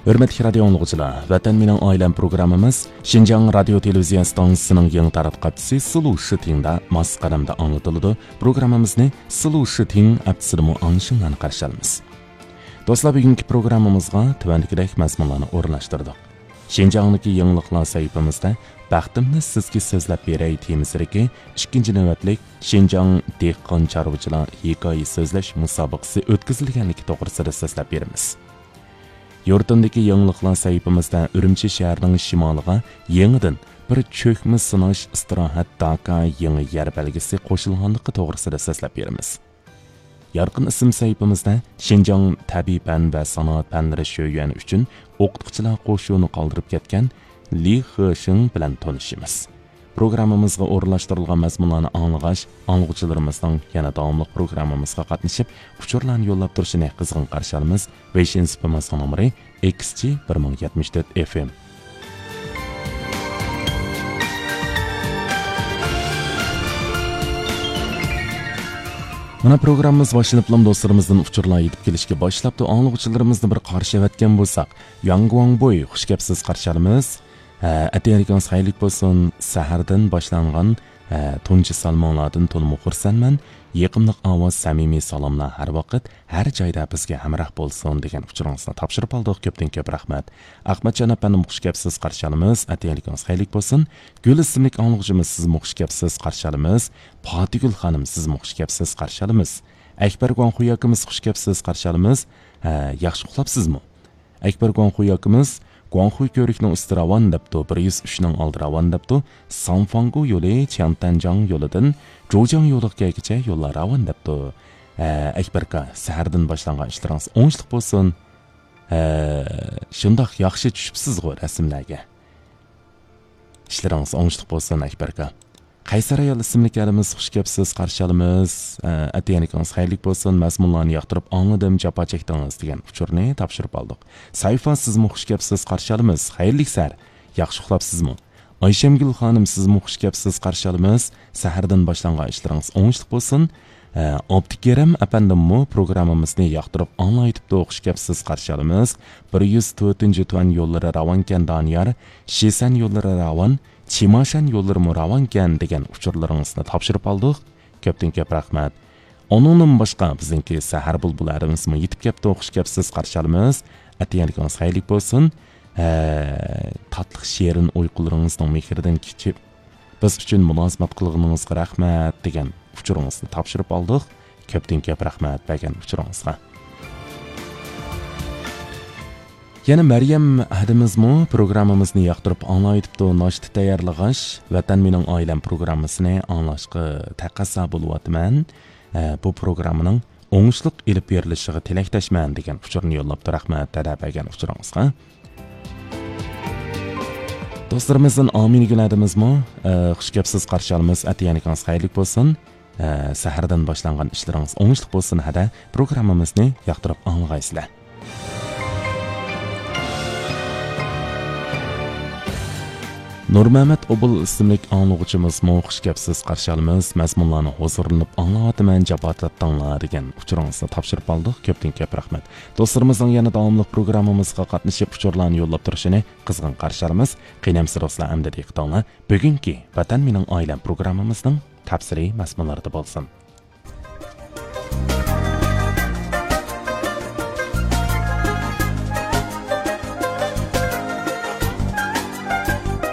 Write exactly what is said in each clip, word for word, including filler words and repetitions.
ھۆرمەتلىك رادىيو ئاڭلىغۇچىلار، ۋەتەن مېنىڭ ئائىلەم پروگراممىمىز شىنجاڭ رادىيو تېلېۋىزىيە ئىستانسىسىنىڭ يېڭى تاراتقۇ ئاپچىسى سىلۇ شىتىڭدا ماس قەدەمدە ئاڭلىتىلىدۇ. پروگراممىمىزنى سىلۇ شىتىڭ ئاپچىسىدىمۇ ئاڭلىشىڭلارنى قارشى ئالىمىز. دوستلار، بۈگۈنكى پروگراممىمىزغا تۆۋەندىكىدەك مەزمۇنلارنى ئورۇنلاشتۇردۇق. شىنجاڭدىكى يېڭىلىقلار سەھىپىمىزدە بەختىمنى سىزگە سۆزلەپ بېرەي تېمىسىدىكى ئىككىنچى نۆۋەتلىك شىنجاڭ دېھقان چارۋىچىلار ھېكايە سۆزلەش مۇسابىقىسى ئۆتكۈزۈلگەنلىكى توغرىسىدا سۆزلەپ بېرىمىز. يۇرتۇمدىكى يېڭىلىقلار سەھىپىمىزدە ئۈرۈمچى شەھىرىنىڭ شىمالىغا يېڭىدىن بىر چۆكمە سىناش ئىستىراھەت داكا يېڭى يەر بەلگىسى قوشۇلغانلىقى توغرىسىدا سۆزلەپ بېرىمىز. يارقىن ئىسىم سەھىپىمىزدە شىنجاڭ تەبىئىي پەن ۋە سانائەت پەنلىرى شۆيۈەن ئۈچۈن ئوقۇتقۇچىلار قوشۇنى قالدۇرۇپ كەتكەن لى خېشىڭ بىلەن تونۇشىمىز. پروگراممىمىزغا ئورۇنلاشتۇرۇلغان مەزمۇنلارنى ئاڭلىغاچ، ئاڭلىغۇچىلىرىمىزنىڭ يەنە داۋاملىق پروگراممىمىزغا قاتنىشىپ، ئۇچۇرلارنى يوللاپ تۇرۇشىنى قىزغىن قارشى ئالىمىز. ۋېيشىن سېپىمىزنىڭ نومۇرى ئېكس جى بىر مىڭ يەتمىش تۆت ئېف ئېم. مانا پروگراممىمىز باشلىنىپلا دوستلىرىمىزدىن ئۇچۇرلار يېتىپ كېلىشكە باشلاپتۇ. ئاڭلىغۇچىلىرىمىزنى بىر قارشى ئەۋەتكەن بولساق، ياڭ گۇاڭبۇي، خۇش كەپسىز، قارشى ئالىمىز. ھە، ئەتىگەنلىكىڭىز خەيرلىك بولسۇن. سەھەردىن باشلانغان، ھە، تۇنجى سالىمىڭلاردىن تولىمۇ خۇرسەنمەن. يېقىملىق ئاۋاز، سەمىمىي سالاملار ھەر ۋاقىت، ھەر جايدا بىزگە ھەمراھ بولسۇن، دېگەن ئۇچۇرىڭىزنى تاپشۇرۇپ ئالدۇق. كۆپتىن كۆپ رەھمەت. ئەخمەتجان ئەپەندىمۇ خۇش كەپسىز، قارشى ئالىمىز. ئەتىگەنلىكىڭىز خەيرلىك بولسۇن. گۈل ئىسىملىك ئاڭلىغۇچىمىز، سىزمۇ خۇش كەپسىز، قارشى ئالىمىز. پاتىگۈل خانىم، سىزمۇ خۇش كەپسىز، قارشى ئالىمىز. ئەكبەر گۇاڭخۇي ئاكىمىز، خۇش كەپسىز، قارشى ئالىمىز. ھە، ياخشى ئۇخلاپسىزمۇ؟ ئەكبەر گۇاڭخۇي ئاكىمىز، گۇاڭخۇي كۆۋرۈكنىڭ ئۈستى راۋان دەپتۇ، بىر يۈز ئۈچنىڭ ئالدى راۋان دەپتۇ، ساڭفاڭگۇ يولى چياڭتەنجاڭ يولىدىن جوجياڭ يولىغا كەلگۈچە يوللار راۋان دەپتۇ. ھە، ئەكبەر ئاكا، سەھەردىن باشلانغان ئىشلىرىڭىز ئوڭۇشلۇق بولسۇن. ھە، شۇنداق ياخشى چۈشۈپسىزغۇ رەسىملەرگە. ئىشلىرىڭىز ئوڭۇشلۇق بولسۇن، ئەكبەر ئاكا. قەيسەر ئايال ئىسىملىك ئەرىمىز، خۇش كەپسىز، قارشى ئالىمىز. ئە، ئەتىگەنلىكىڭىز خەيرلىك بولسۇن، مەزمۇنلارنى ياقتۇرۇپ ئاڭلىدىم، جاپا چەكتىڭىز، دېگەن ئۇچۇرنى تاپشۇرۇپ ئالدۇق. سەيفا، سىزمۇ خۇش كەپسىز، قارشى ئالىمىز، خەيرلىك سەھەر، ياخشى ئۇخلاپسىزمۇ؟ ئايشەمگۈل خانىم، سىزمۇ خۇش كەپسىز، قارشى ئالىمىز، سەھەردىن باشلانغان ئىشلىرىڭىز ئوڭۇشلۇق بولسۇن. ئە، ئابدۇكېرىم ئەپەندىممۇ پروگراممىمىزنى ياقتۇرۇپ ئاڭلاۋېتىپتۇ، خۇش كەپسىز، قارشى ئالىمىز. بىر يۈز تۆتىنچى تۇەن يوللىرى راۋانكەن، دانىيار، شىسەن يوللىرى راۋان، چىماشان يوللىرىمۇ راۋانكەن، دېگەن ئۇچۇرلىرىڭىزنى تاپشۇرۇپ ئالدۇق. كۆپتىن كۆپ رەھمەت. ئۇنىڭدىن باشقا، بىزنىڭكى سەھەر بۇلبۇلى ئەرىمىزمۇ يېتىپ كەپتۇ، خۇش كەپسىز، قارشى ئالىمىز. ئەتىگەنلىكىڭىز خەيرلىك بولسۇن. ھە، تاتلىق شېرىن ئۇيقۇلىرىڭىزنىڭ مېھرىدىن كېچىپ، بىز ئۈچۈن مۇلازىمەت قىلغىنىڭىزغا رەھمەت، دېگەن ئۇچۇرىڭىزنى تاپشۇرۇپ ئالدۇق. كۆپتىن كۆپ رەھمەت بەرگەن ئۇچۇرىڭىزغا. يەنە مەريەم ھەدىمىزمۇ پروگراممىمىزنى ياقتۇرۇپ ئاڭلاۋېتىپتۇ. ناشتا تەييارلىغاچ، ۋەتەن مېنىڭ ئائىلەم پروگراممىسىنى ئاڭلاشقا تەقەززا بولۇۋاتىمەن. ئە، بۇ پروگراممىنىڭ ئوڭۇشلۇق ئېلىپ بېرىلىشىغا تىلەكداشمەن، دېگەن ئۇچۇرنى يوللاپتۇ. رەھمەت دەدە بەرگەن ئۇچۇرىڭىزغا. دوستلىرىمىزدىن ئامىنە گۈل ھەدىمىزمۇ، ئە، خۇش كەپسىز، قارشى ئالىمىز، ئەتىگەنلىكىڭىز خەيرلىك بولسۇن. ئە، سەھەردىن باشلانغان ئىشلىرىڭىز ئوڭۇشلۇق بولسۇن ھەدە، پروگراممىمىزنى ياقتۇرۇپ ئاڭلىغايسىلەر. نۇرمەمەت ئوبۇل ئىسىملىك ئاڭلىغۇچىمىزمۇ خۇش كەپسىز، قارشى ئالىمىز، مەزمۇنلارنى ھۇزۇرلىنىپ ئاڭلاۋاتىمەن، جاپا تارتتىڭلار، دېگەن ئۇچۇرىڭىزنى تاپشۇرۇپ ئالدۇق. كۆپتىن كۆپ رەھمەت. دوستلىرىمىزنىڭ يەنە داۋاملىق پروگراممىمىزغا قاتنىشىپ ئۇچۇرلارنى يوللاپ تۇرۇشىنى قىزغىن قارشى ئالىمىز. قېنى ئەمىسە دوستلار، ئەمدى دىققىتىڭلار بۈگۈنكى ۋەتەن مېنىڭ ئائىلەم پروگراممىمىزنىڭ تەپسىلىي مەزمۇنلىرىدا بولسۇن.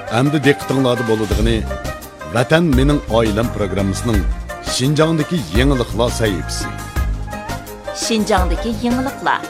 ئەمدى دىققىتىڭلاردا بولىدىغىنى ۋەتەن مېنىڭ ئائىلەم پروگراممىسىنىڭ شىنجاڭدىكى يېڭىلىقلار سەھىپىسى. شىنجاڭدىكى يېڭىلىقلار.